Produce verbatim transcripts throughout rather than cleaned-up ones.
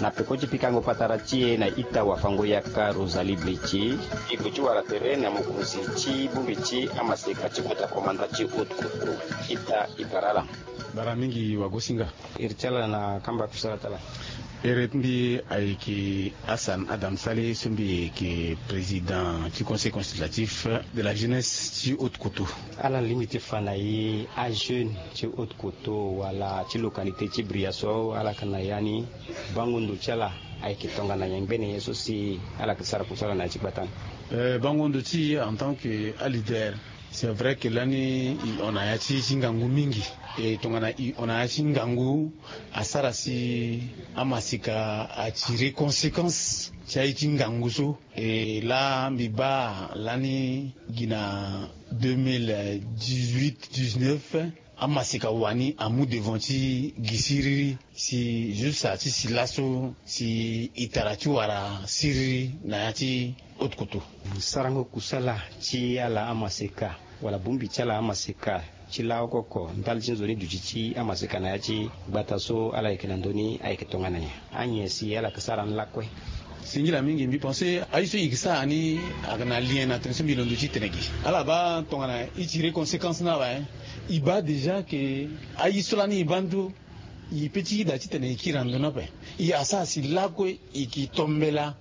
Na peko ti pikango patara ti e na ita wafango-yaka Rosalie Bleti, e gue ti wara tere na mokonzi ti bongbi ti amaseka ti kota komanda ti Haute Koto, ita e bara ala. Bara mingi wagosinga. Iri ti ala na kamba kusala ti ala. Iri ti mbi ayeke Hassan Adam Saleh so mbi yeke président ti conseil consultatif de la jeunesse ti Haute Koto. Ala lingbi ti fa na e ajeune ti Haute Koto wala ti localité ti Bria so ala yeke na ya ni, bango ndo ti ala ayeke tongana nyen? Ngbene ye so si ala yeke sara kusala na ya ti gbata ni? Eh, bango ndo ti e en tant que aleader, c'est vrai que lani e hon na ya ti ti ngangu mingi. E tongana e hon na ya ti ngangu, asara si amaseka atire conséquence ti aye ti ngangu so. E laa mbi baa lani gi na deux mille dix-huit dix-neuf, amaseka wani amu devant ti gi siriri si juste ti si laso si e tara ti wara siriri na ya ti Haute Koto. Sarango kusala ti ala amaseka wala bongbi ti ala amaseka ti laoko oko ndali ti nzoni duti ti amaseka na ya ti gbata so ala yeke na ndö ni ayeke tongana nyen? Anyen si ala yeke sara ni lakue? Singila mingi, mbi pense aye so e yeke sara ni ayeke na lien na tene so mbi londo ti tene gi. Ala baa tongana e tire conséquence ni awe, e baa déjà que aye so lani e baa ndo, e pe ti yeda titene e kiri na ndo ni ape. E asara si lakue e yeke tombela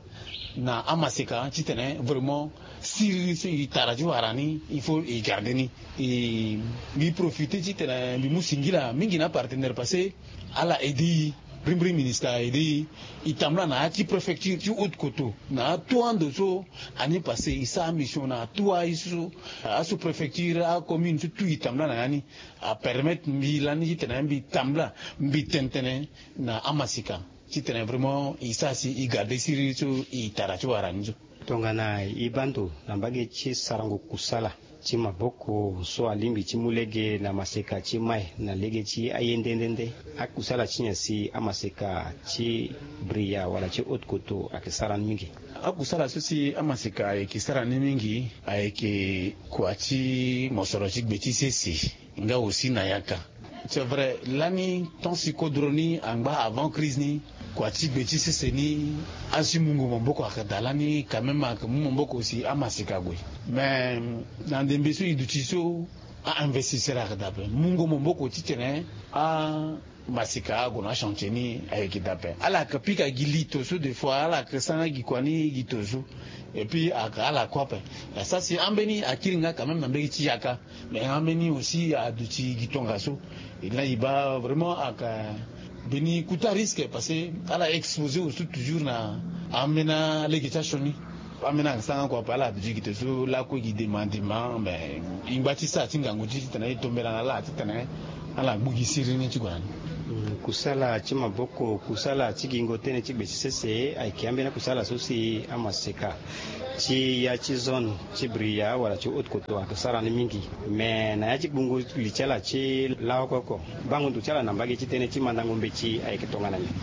na amaseka titene vraiment siriri so e tara ti wara ni, il faut e garde ni. E mbi profite titene mbi mu singila mingi na apartenaire parce que ala aide e. Brimbri ministre aide e. E tambula na ya ti préfecture ti Haute Koto na atout ando so, année passée e sara mission na atout aye so, asous-préfecture, acommune so tout e tambula na ya ni. Apermettre mbi lani titene mbi tambula mbi tene tënë na amaseka titene vraiment e sara si e garde siriri so e tara ti wara ni so. Tongana e baa ndo na mbage ti sarango kusala ti maboko so alingbi ti mu lege na maseka ti mai na lege ti aye nde nde nde, akusala ti nyen si amaseka ti Bria wala ti Haute Koto ayeke sara ni mingi? Akusala so si amaseka ayeke sara ni mingi ayeke kua ti mosoro ti gbe ti sese nga aussi na yaka. C'est vrai, lani tant si kodro ni angba avant crise ni, kua ti gbe ti sese ni, asi mungo maboko ayeke daa lani quand même ayeke mu maboko si amaseka ague. Mais na ndembe so e duti so, a-investisseur ayeke daa ape, mungo maboko titene amaseka ague na achantier ni ayeke daa ape. Ala yeke pika gi lito so des fois ala yeke sanga gi kua ni gi to so. Et puis ayeke ala kue ape. Asara si ambeni akiri nga quand même na mbage ti yaka. Mais ambeni aussi aduti gi tongaso. E laa e baa vraiment ayeke mbeni kota risque parce que ala exposé aussi toujours na ambeni alege ti asioni. Ambeni ayeke sanga kua ape ala aduti gi to so lakue gi dema dema, mais e ngba ti sara ti ngangu ti titene e tombela na ala titene ala gbu gi siriri ni ti gue na ni. Mm, kusala ti maboko, kusala ti gingo tënë ti gbe ti sese ayeke ambeni akusala so si amaseka ti ya ti zone ti Bria wala ti Haute Koto ayeke sara ni mingi. Mais na ya ti gbungu li ti ala ti laoko oko, bango ndo ti ala na mbage ti tënë ti mandango mbeti ayeke tongana nyen?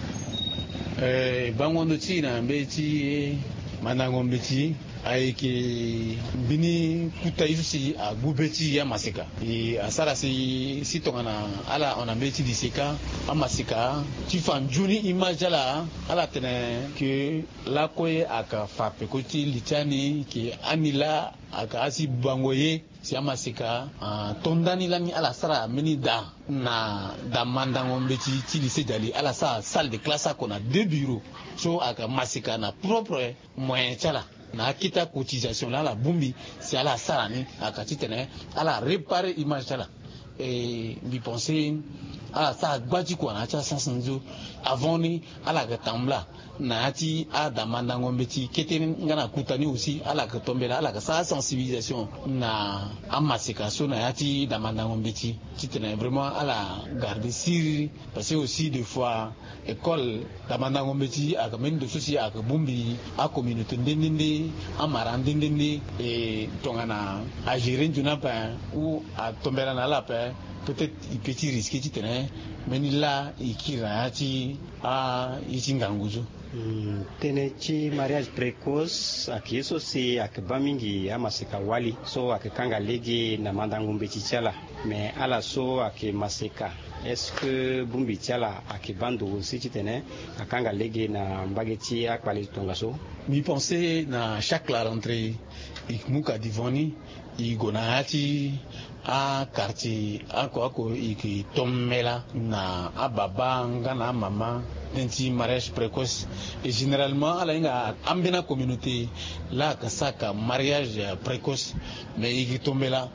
Eh, bango ndo ti e na mbeti mandango mbeti ayeke mbeni kota ye so si agbu be ti e amaseka. E asara si, si tongana ala hon na mbeti liseka, amaseka ti fa nzoni image ti ala, ala tene ke lakue ayeke fa peko ti li ti ani ke ani laa ayeke asi bango ye. Si amaseka ato ndani lani ala sara mbeni daa na daa mandango mbeti ti lycée Djali, ala sara salle de classe oko na deux bureaux. So ayeke maseka na propre moyen ti ala na akete acotisation laa ala bongbi si ala sara ni, ayeke titene ala réparer image ti ala. E mbi pense ala sara gba ti kua na ya ti asansi ni so. Avant ni ala yeke tambula na ya ti adamandango mbeti kete ni nga na kota ni aussi, ala yeke tombela, ala yeke sara sensibilisation na amaseka so na ya ti damandango mbeti titene vraiment ala garde siriri. Parce que aussi des fois école damandango mbeti ayeke mbeni ndo so si ayeke bongbi acommunauté nde nde nde, amara nde nde nde. E tongana agérer nzoni ape ou atombela na ala ape, peut-être e peut ti risquer titene Mbeni laa e kiri na ya ti aye ti ngangu so. Tënë ti mariage précoce ayeke ye so si ayeke baa mingi amaseka wali so ayeke kanga lege na mandango mbeti ti ala. Mais ala so ayeke maseka, est-ce que bongbi ti ala ayeke baa ndo aussi titene akanga lege na mbage ti akpale ti tongaso? Mbi pense na chaque la rentrée e ke mu ka devant ni, e gue na ya ti aquartier oko oko, e ke tombela na ababa nga na amama tënë ti mariage précoce. Et généralement ala hinga ambeni acommunauté laa ayeke sara mariage précoce. Mais e ke tombela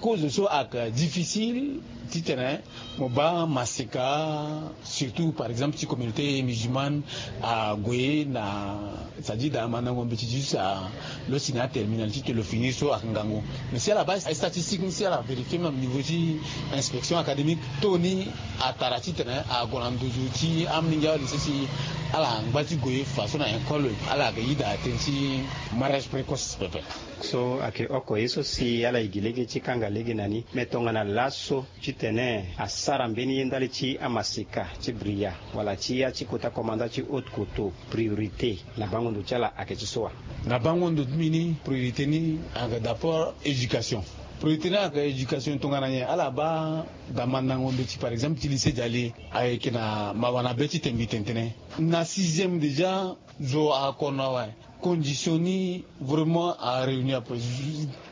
cause so ayeke difficile titene mo baa maseka, surtout par exemple ti communauté musulmane ague na, c'est-à-dire daa mandango mbeti ti juste a lo si na aterminal ti tene lo fini so ayeke ngangu. Mais si ala baa statistique ni, si ala vérifier même niveau ti inspection académique, taux ni atara titene ague na nduzu ti amolenge alycée si ala ngba ti gue fa so na école ala yeke yeda tënë ti mariage précoce pepe. So ayeke oko ye so si ala yeke gi lege ti kanga lege na ni. Mais tongana laso titene asara mbeni ye ndali ti amaseka ti bria wala ti ya ti kota komanda ti haute koto priorité na bango ndo ti ala ayeke ti so wa? Na bango ndo ti mbi ni priorité ni ayeke d'abord éducation. Priorité ni ayeke éducation tongana nyen? Ala baa damandango mbeti par exemple ti lycée diali ayeke na mawa na be ti tengbi tene tene na sixième déjà zo akono awe. Condition ni vraiment aréunir ape.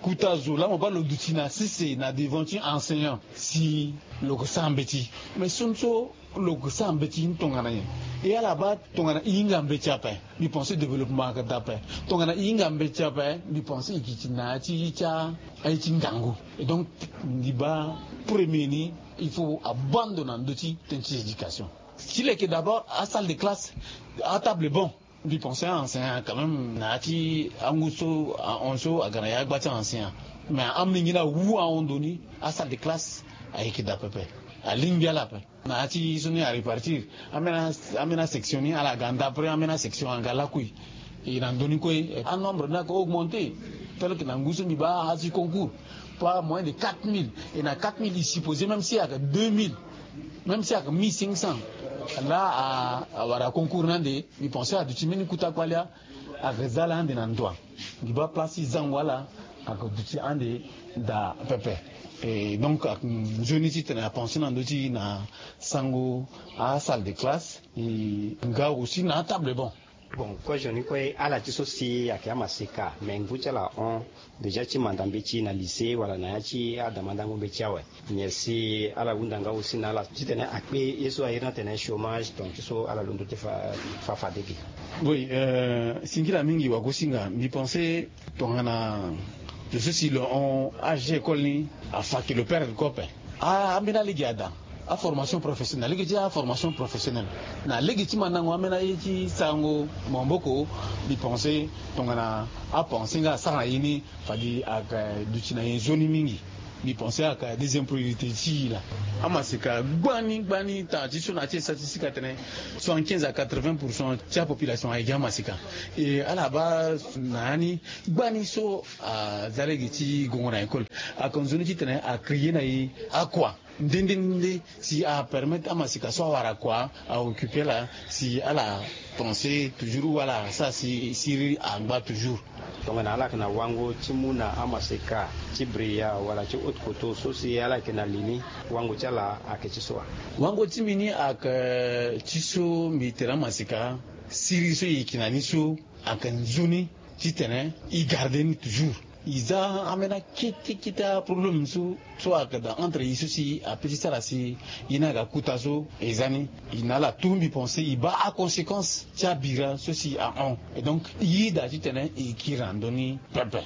Kota zo laa mo baa lo duti na sese na devant ti enseignant si lo ke sara mbeti. Mais so ni so lo ke sara mbeti ni tongana nyen? E ala baa tongana e hinga mbeti ape, mbi pense développement ayeke daa ape. Tongana e hinga mbeti ape, mbi pense e ke ti na ya ti ti a aye ti ngangu. Et donc mbi baa premier ni il faut abaa ndo na ndö ti tënë ti éducation. Ti leke d'abord asalle de classe, atable bon. Mbi pense a enseignant quand même na ya ti angu so ahon so aga na ya agba ti enseignant. Mais amolenge ni awu ahon ndo ni, asalle de classe ayeke daa pepe. Alingbi ala ape. Na ya ti so ni arépartir ambeni asection ni ala ga nda après ambeni asection aga lakui. E na ndö ni kue anombre ni ayeke augmenter. Tel que na ngu so mbi baa azi concours par moyen de quatre mille. Et na quatre mille e supposé même si ayeke deux mille, même si ayeke mille cinq cents, laa awara concours ni ande. Mbi pense aduti mbeni kota kpale. Ayeke za ala ande na ndoa. Mbi baa place ti zango ala ayeke duti ande daa pepe. Et donc ayeke nzoni titene apense na ndö ti na sango asalle de classe. E nga aussi na atable bon. Bon, kozo ni kue ala ti so si ayeke amaseka mais ngu ti ala ahon déjà ti manda mbeti na lycée wala na ya ti adamandango mbeti awe. Nyen si ala hunda nga aussi na ala titene akpe ye so a iri ni atene chômage, donc ti so ala londo ti fa fade ge? Oui, singila mingi wagosinga. Mbi pense tongana zo so si lo hon age école ni afa ke lo perdre kue ape. Ambeni alege ada, aformation professionnelle, na lege ti aformation professionnelle, na lege ti mandango ambeni aye ti sarango maboko. Mbi pense tongana apense nga asara na ye ni, fade ayeke duti na ye nzoni mingi. Mbi pense ayeke deuxième priorité ti e laa. Amaseka gbani gbani tanga ti so na ya ti statistique atene soixante-quinze à quatre-vingts pour cent ti apopulation ayeke amaseka. E ala baa na ya ni gbani so aza lege ti gongo na école, ayeke nzoni titene acréer na e akua nde nde nde si apermettre amaseka so awara kua aoccuper ala si ala pense toujours ou ala sara si siriri angba toujours. Tongana ala yeke na wango ti mu na amaseka ti bria wala ti haute koto so si ala yeke na li ni, wango ti ala ayeke ti so wa? Wango ti mbi ni ayeke ti so mbi tere amaseka siriri so e yeke na ni so ayeke nzoni titene e garde ni toujours. E za ambeni akete kete aproblème so so ayeke daa entre e so si ape ti sara si e ni aga kota so e za ni. E na ala tout mbi pense e baa aconséquence ti abira so si ahon. Et donc e yeda titene e kiri na ndö ni pepe.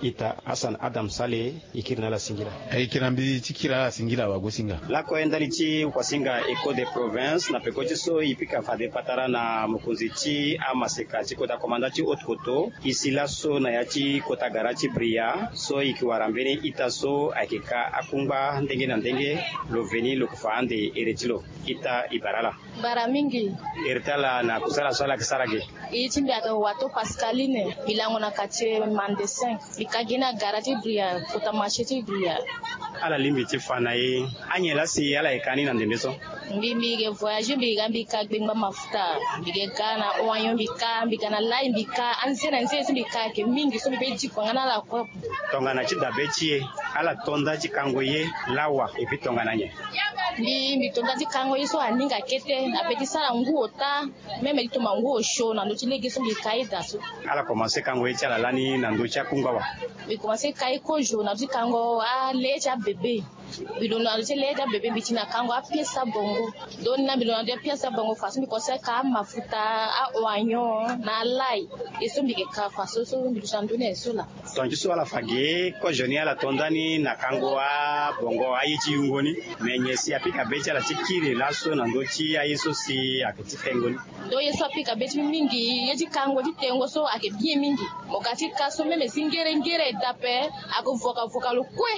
Ita Hassan Adam Sale, e kiri na ala singila. E yeke na mbi ti kiri ala singila wagosinga. Lakue ndali ti wasinga Echo de Province na peko ti so e pika fade patara na mokonzi ti amaseka ti kota komanda ti haute koto. E si laso na ya ti kota gara ti bria so e ke wara mbeni ita so ayeke ka akungba ndenge na ndenge. Lo veni lo ke fa ande ere ti lo. Ita e bara ala. Bara mingi. Ere ti ala na kusala so ala yeke sara ge? Iri ti mbi ayeke wato Pascaline. Mbi lango na quartier Mandesin. Mbi ka gi ni na gara ti bria, kota marché ti bria. Ala lingbi ti fa na e anyen laa si ala yeke ka ni na ndembe so? Mbi mbi yeke voyage, mbi yeke ga mbi ka gbengba mafuta. Mbi yeke ga na oignon, mbi ka, mbi ga na lay, mbi ka. Anze na nze so mbi ka ayeke mingi so mbi pe diko nga na ala kue. Tongana ti dabe ti e, ala to nda ti kango ye lawa, epi tongana nyen? Mbi mbi to nda ti kango ye so aninga kete na pe ti sara ngu ota. Même ti toma ngu osio na ndö ti lege so mbi ka ye daa so. Ala komanse kango ye ti ala lani na ndö ti akungba wa? Mbi komanse ka ye kozo na ndö ti kango ale ti abebe. Mbi londo na ndö ti le ti abebe, mbi ti na kango apiese abongo. Donc ni na mbi londo na ndö ti apiese abongo fa so mbi komanse ka amafuta, aoignon na alai. Ye so mbi yeke ka fa so so mbi duti na ndö ni aye so laa. Tonga ti so ala fa ge kozo ni ala to nda ni na kango abongo aye ti yungo ni. Me nyen si apika be ti ala ti kiri laso na ndö ti aye so si ayeke ti tengo ni? Donc ye so apika be ti mbi mingi, ye ti kango ti tengo so ayeke bien mingi. Mo ga ti ka so même si ngere ngere e daa ape, ayeke voka voka lo kue.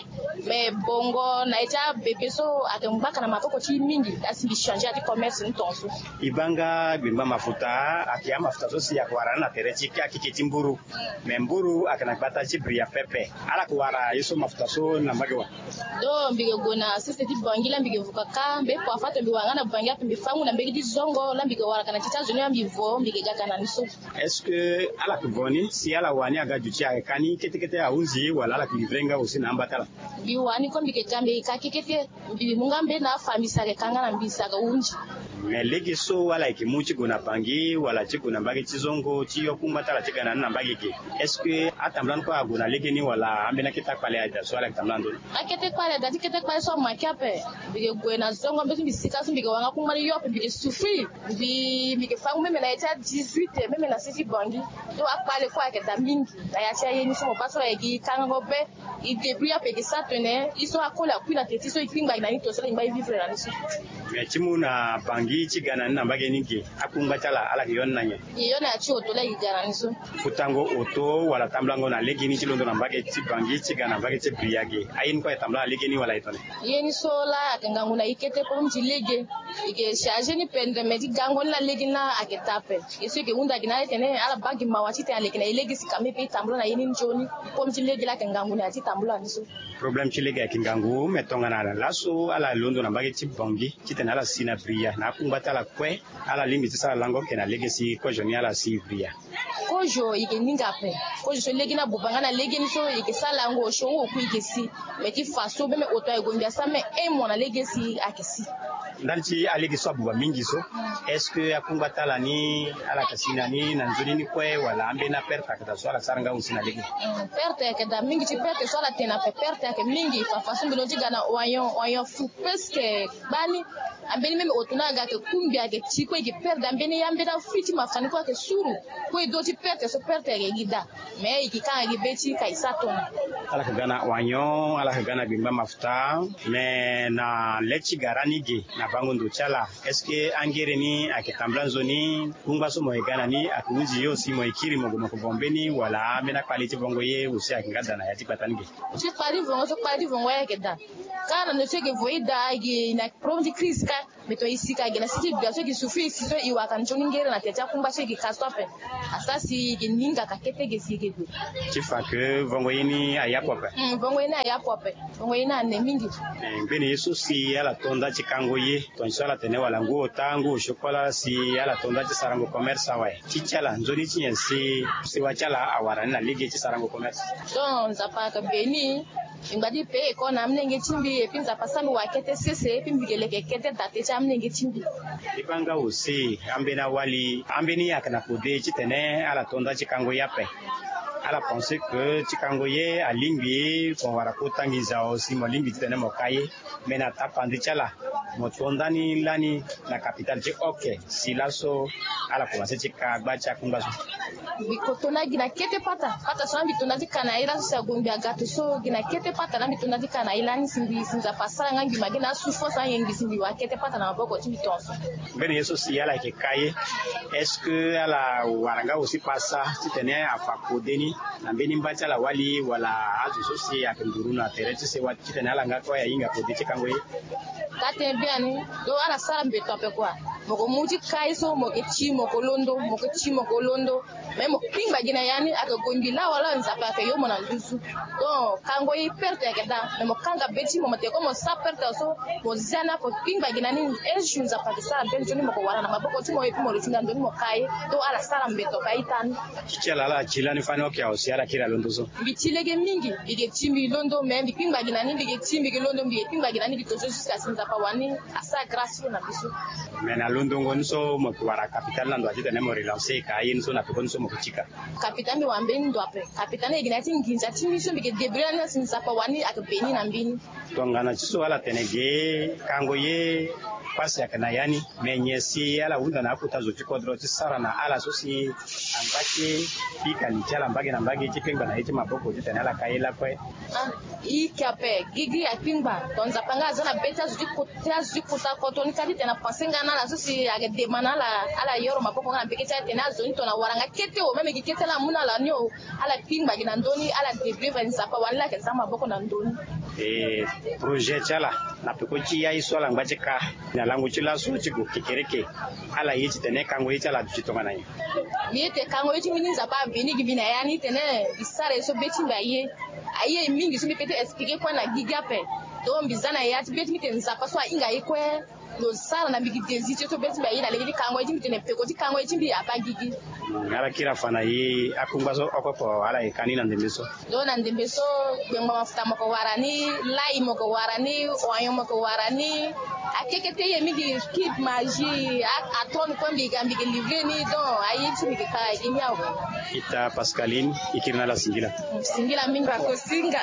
Me bongo na ye ti abebe so ayeke ngbaka na maboko ti e mingi. Asi mbi changer ya ti commerce ni tongaso. E baa nga gbengba mafuta ayeke amafuta so si ayeke wara ni na tere ti akeke ti mburu. Me mburu ayeke na gbata ti bria pepe. Ala yeke wara ye so mafuta so na mbage wa? Donc mbi yeke gue na sese ti Bangui laa mbi yeke vuka ka mbe kua fa to mbi wara nga na Bangui ape mbi fâ ngu na mbege ti zongo laa mbi yeke wara ka na ti ti azo ni laa mbi vo mbi yeke ga ka na ni so. Est-ce que ala yeke vo ni si ala wani aga duti ayeke ka ni kete kete ahunzi wala ala yeke livrer nga aussi na amba ti ala? Mbi wani kue mbi yeke ka mbi yeke ka kete kete. Mbi mu nga mbe na afa mbi si ayeke ka nga na mbi si ayeke hunzi. Me lege so ala yeke mu ti gue na Bangui wala ti gue na mbage ti zongo ti yo kungba ti ala ti ga na ni na mbage ge, est-ce que atambula ni kue ague na legeni wala ambeni akete akpale aye daa so ala yeke tambula na ndö ni? Akete kpale daa ti kete kpale so amake ape. Mbi yeke gue na zongo mbe so mbi sika so mbi yeke wara nga kungba ni yo ape mbi yeke souffrir. Mbi mbi yeke fâ ngu même na ye ti a dix-huit même na se ti Bangui. Donc akpale kue ayeke daa mingi. Na ya ti aye ni so mo baa so ayeke gi kangango be. E débrouiller ape e ke sara tene e so akoli akui na teti so e kpingba gi na ni to so la e ngba e vivre na ni so. Mais ti mu na Bangui ti ga na ni na mbage ni ge, akungba ti ala ala ke yo ni na nyen? E yo na ya ti oto la e ke ga na ni so. Futango oto wala tambulango na legeni ti londo na mbage ti Bangui ti ga na mbage ti Bria ge, aye ni kue ayeke tambula na legeni wala e tene? Ye ni so la ayeke ngangu na e kete problème ti lege. E ke charger ni pendere mais ti gango ni la lege ni la ayeke daa ape. Ye so e ke hunda gi na ala tene ala baa gi mawa titene aleke na e lege si kame pe e tambula na ye ni nzoni. Comme ti lege la ayeke ngangu na ya ti tambula ni so. Problème ti lege ayeke ngangu mais tongana laso ala londo na mbage ti Bangui titene ala si na Bria na akungba ti ala kue, ala lingbi ti sara lango ake na lege si kozo ni ala si Bria. Kozo e ke ninga ape. Kozo so lege ni abuba nga na lege ni so e ke sara lango osio ngu oku e ke si. Mais ti fa so même oto aye gue mbi asara même un mois na lege si ayeke si. Ndali ti alege so abuba mingi so, est-ce que akungba ti ala ni ala yeke si na ni na nzoni ni kue wala ambeni aperte ayeke daa so ala sara nga aussi na lege? Perte ayeke daa mingi ti perte so ala tene ape perte ayeke mingi fafa so mbi londo ti ga na oignon oignon fu presque gbani. Ambeni même oto ni aga ayeke kungbi ayeke ti kue e ke perde ambeni ambeni afui ti mafa ni kue ayeke suru. Kue e do ti perte so perte ayeke gi daa. Mais e ke kanga gi be ti ka e sara tongana. Ala yeke ga na oignon ala yeke ga na gbengba mafuta. Mais na le ti gara ni ge na bango ndo ti ala, est-ce que angere ni ayeke tambula nzoni? Kungba so mo yeke ga na ni ayeke hunzi yo si mo yeke kiri mo gue mo yeke vo mbeni wala ambeni akpale ti vongo ye aussi ayeke nga daa na ya ti gbata ni ge? Ti kpale ti vongo so kpale ti vongo ye ayeke daa. Kâ na ndo so e ke vo e daa e ke na problème ti crise kâ. Mais to e si ka e ke na si ti bia so e ke souffrir e si so e wara ka nzoni ngere na tere ti akungba so e ke ka so ape. Asara si e ke ninga ka kete ge si e ke gue. Ti fa ke vongo ye ni ayapu ape. Vongo ye ni ayapu ape. Vongo ye ni ane mingi. Ngbeni ye so si ala to nda ti kango ye tongaso ala tene wala ngu ota ngu osio kue la si ala to nda ti sarango commerce awe? Ti ti ala nzoni ti nyen si sewa ti ala awara ni na lege ti sarango commerce? Donc nzapa ayeke beni. Mbi ngba ti payer école na amolenge ti mbi epui nzapa asara mbi wara kete sese epui mbi ke leke kete daa te ti amolenge ti mbi. E baa nga aussi ambeni awali ambeni ayeke na kode titene ala to nda ti kango ye ape. Ala pense que ti kango ye alingbi mo wara kota nginza aussi mo lingbi titene mo ka ye. Mais na tapande ti ala mo to ndani lani na kapitale ti oke si laso ala komanse ti ka gba ti akungba so. Mbi ko to na gi na kete pata pata so na mbi to na ti ka na ye laso si agongbi agato so gi na kete pata na mbi to na ti ka na ye lani si mbi si nzapa asara nga ngi ma gi na asouffrance ange ngi si mbi wara kete pata na maboko ti mbi tongaso. Mbeni ye so si ala yeke ka ye est-ce que ala wara nga aussi pasa titene afa kode ni na mbeni mba ti ala wali wala azo so si ayeke nduru na tere ti sewa titene ala nga kue ahinga kode ti kango ye? Ka tene biani. Donc ala sara mbeto ape kua. Mo ko mu ti ka ye so mo ke ti mo ko londo, mo ke ti mo ko londo. Mais mo kpingba gi na ya ni ayeke gue mbi lawa lawa, Nzapa ayeke yo mo na nduzu. Donc kango ye perte ayeke daa, mais mo kanga be ti mo, mo tene ko mo sa perte so, mo zia ni ako kpingba gi na ni. Un jour Nzapa ayeke sara be nzoni mo ko wara na maboko ti mo, et puis mo lo ti nda nzoni mo ka ye. Donc ala sara mbeto ka ita ni. Ti ti ala ala ti lani fani oke awe si ala kiri alondo so. Mbi ti lege mingi, mbi ke ti mbi londo, mais mbi kpingba gi na ni, mbi ke ti mbi ke londo, mbi ke kpingba gi na ni, mbi ke to so jusqu'à si Nzapa wani asara grâce so na biso. Mais na londongo ni so mo ke wara capital na ndo ati tene mo relancer ka aye ni so na pekoni so mo ke tika. Capital mbi wara mbeni ndo ape. Capital ni ayeke na ya ti nginza ti mbi so mbi ke débrouiller na ni si Nzapa wani ayeke beni na mbi ni. Tongana ti so ala tene ge kango ye pasi ayeke na ya ni. Me nyen si ala hunda na akota zo ti kodro ti sara na ala so si angba ti e pika li ti ala mbage na mbage ti kpengba na ye ti maboko titene ala ka ye lakue. Ah, e yeke ape, gigi akpengba. Donc Nzapa nga aza na be ti azo ti ko- ti azo ti kota koto ni ka titene apense nga na ala so si ayeke dema na ala, ala yoro maboko nga na mbege ti ala titene azo ni tongana wara nga kete o, même gi kete ala mu na ala ni o. Ala kpingba gi na ndö ni, ala débrouiller fade Nzapa wani la ayeke za maboko na ndö ni. E, projet ti ala na peko ti ya ye so ala ngba ti ka na lango ti laso ti gue kekereke, ala ye titene kango ye ti ala aduti tongana nyen? Mbi ye tene kango ye ti mbi ni Nzapa abeni gi mbi na ya ni titene mbi sara ye so be ti mbi aye. Aye mingi so mbi peut ti expliquer kue na gigi ape. Donc mbi za na ya ti be ti mbi tene Nzapa so ahinga ye kue. Lo sara na mbi gi désir ti so be ti mbi aye na lege ti kango ye ti mbi tene peko ti kango ye ti mbi abaa gigi. Ala kiri afa na e akungba so oko oko ala yeke ka ni na ndembe so. Donc na ndembe so, gbengba mafuta mo ko wara ni, lai mo ko wara ni, oignon mo ko wara ni. Akekete ye mingi, kit magie, a- atone kue mbi ga mbi ke livrer ni. Donc aye ti mbi ke ka gi ni awe. Ita Pascaline, e kiri na ala singila. Singila mingi. Bakosinga.